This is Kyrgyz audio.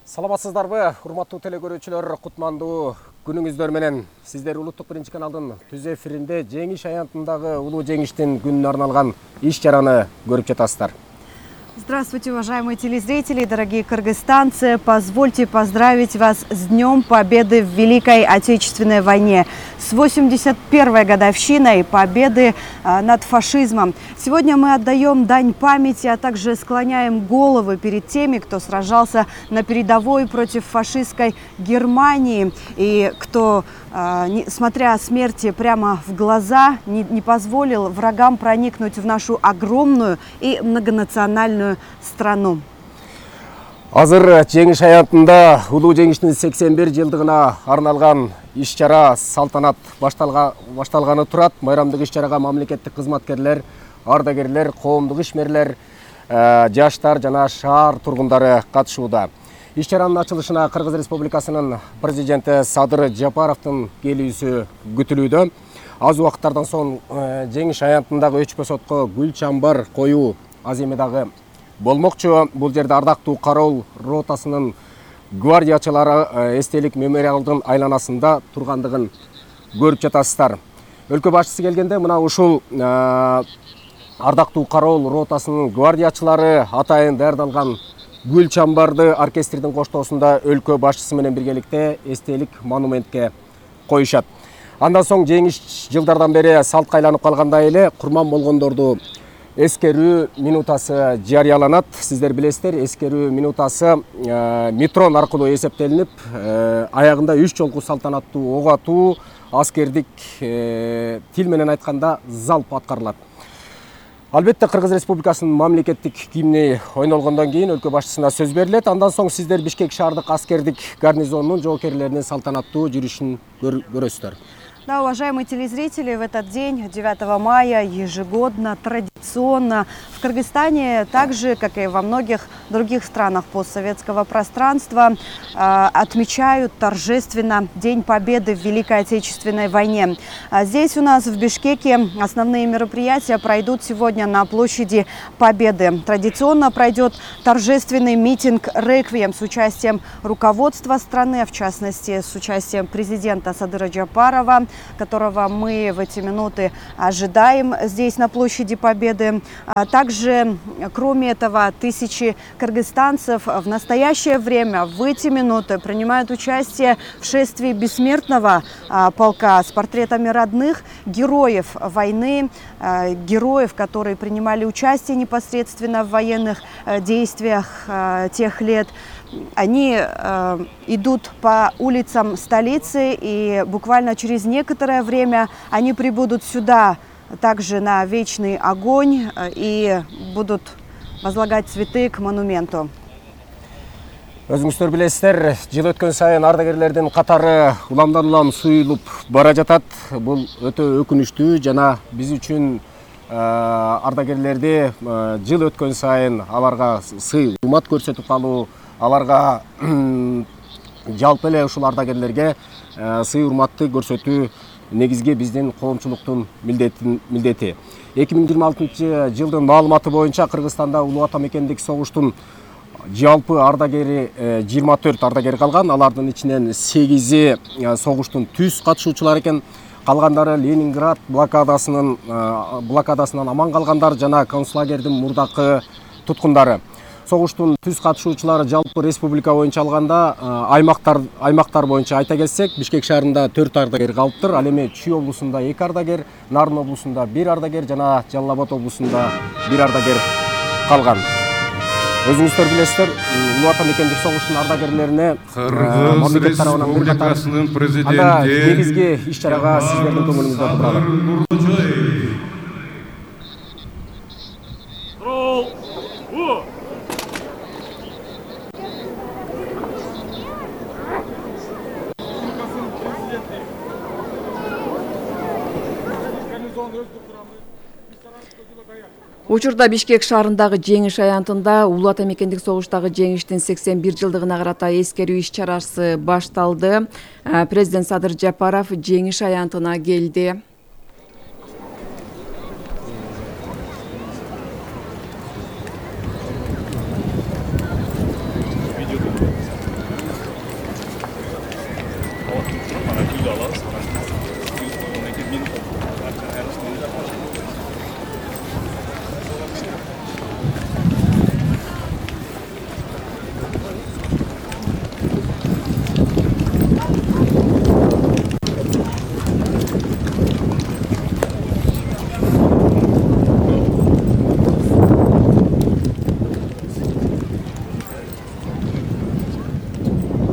Саламатсыздарбы, урматтуу телекөрүүчүлөр, кутмандуу күнүңүздөр менен. Сиздер Улуттук биринчи каналдын түз эфиринде жеңиш аянтындагы улуу жеңиштин күнүнө арналган иш-чараны көрүп жатасыздар. Здравствуйте, уважаемые телезрители, дорогие кыргызстанцы. Позвольте поздравить вас с Днем Победы в Великой Отечественной войне, с 81-й годовщиной победы над фашизмом. Сегодня мы отдаем дань памяти, а также склоняем головы перед теми, кто сражался на передовой против фашистской Германии и кто, смотря смерти прямо в глаза, не позволил врагам проникнуть в нашу огромную и многонациональную страну. Азыр жеңиш аянтында улуу жеңиштин 81 жылдыгына арналган иш-чара салтанат башталганы турат. Майрамдык иш-чарага мамлекеттик кызматкерлер, ардагерлер, коомдук ишмерлер, жаштар жана шаар тургундары катышууда. Иш-чаранын ачылышына Кыргыз Республикасынын президенти Садыр Жапаровдун келүүсү күтүлүүдө. Аз убакыттардан соң жеңиш аянтындагы өчпөс отко гүл чамбар коюу аземи дагы болмокчу. Бул жерде ардактуу кароол ротасынын гвардиячылары эстелик мемориалдын айланасында тургандыгын көрүп жатасыздар. Өлкө башчысы келгенде мына ушул ардактуу кароол ротасынын гвардиячылары атайын даярдалган гүл чамбарды оркестрдин коштоосунда өлкө башчысы менен биргеликте эстелик монументке коюшат. Андан соң жеңиш жылдардан бери салтка айланып калгандай эле курман болгондорду эскерүү минутасы жарыяланат. Сиздер билесиздер, эскерүү минутасы метрон аркылуу эсептелинип, аягында 3 жолку салтанаттуу ок атуу, аскердик тил менен айтканда залп аткарылат. Албетте Кыргыз Республикасынын мамлекеттик гимни ойнолгондон кийин өлкө башчысына сөз берилет. Андан соң сиздер Бишкек шаардык аскердик гарнизонунун жоокерлеринин салтанаттуу жүрүшүн көрөсүздөр. Да, уважаемые телезрители, в этот день, 9 мая, ежегодно, традиционно в Кыргызстане, так же, как и во многих других странах постсоветского пространства, отмечают торжественно День Победы в Великой Отечественной войне. Здесь у нас в Бишкеке основные мероприятия пройдут сегодня на площади Победы. Традиционно пройдет торжественный митинг «Реквием» с участием руководства страны, в частности, с участием президента Садыра Жапарова, которого мы в эти минуты ожидаем здесь на площади Победы. Также, кроме этого, тысячи кыргызстанцев в настоящее время, в эти минуты, принимают участие в шествии бессмертного полка с портретами родных героев войны, героев, которые принимали участие непосредственно в военных действиях тех лет. Они идут по улицам столицы, и буквально через некоторое время они прибудут сюда также на вечный огонь и будут возлагать цветы к монументу. Өзүңүздөр билесиздер, жыл өткөн сайын ардагерлердин катары уламдан улам суюлуп бара жатат. Бул өтө өкүнүчтүү жана биз үчүн ардагерлерди жыл өткөн сайын аларга сый урмат көрсөтүп калуу, аларга жалпы эле ушул ардагерлерге сый урматты көрсөтүү негизги биздин коомчулуктун милдети. 2026 жылдын маалыматы боюнча Кыргызстанда улуу ата мекендик согуштун жалпы ардагери 24 ардагер калган. Алардын ичинен 8-и согуштун түз катышуучулары экен. Калгандары Ленинград блокадасынан аман калгандар жана концлагердин мурдакы туткундары. Согуштун түз катышуучулары жалпы республика боюнча алганда аймактар боюнча айта келсек, Бишкек шаарында 4 ардагер калыптыр. Ал эми Чүй облусунда 2 ардагер, Нарын облусунда 1 ардагер жана Жалал Абад облусунда 1 ардагер калган. Өзүңүздөр билесиздер, улуу ата мекендик согуштун ардагерлерине Кыргыз Республикасынын президенти негизги иш-чарага сиздердин көңүлүңүздө туралы. Учурда Бишкек шаарындагы жеңиш аянтында улуу ата мекендик согуштагы жеңиштин 81 жылдыгына карата эскерүү иш-чарасы башталды. Президент Садыр Жапаров жеңиш аянтына келди. менин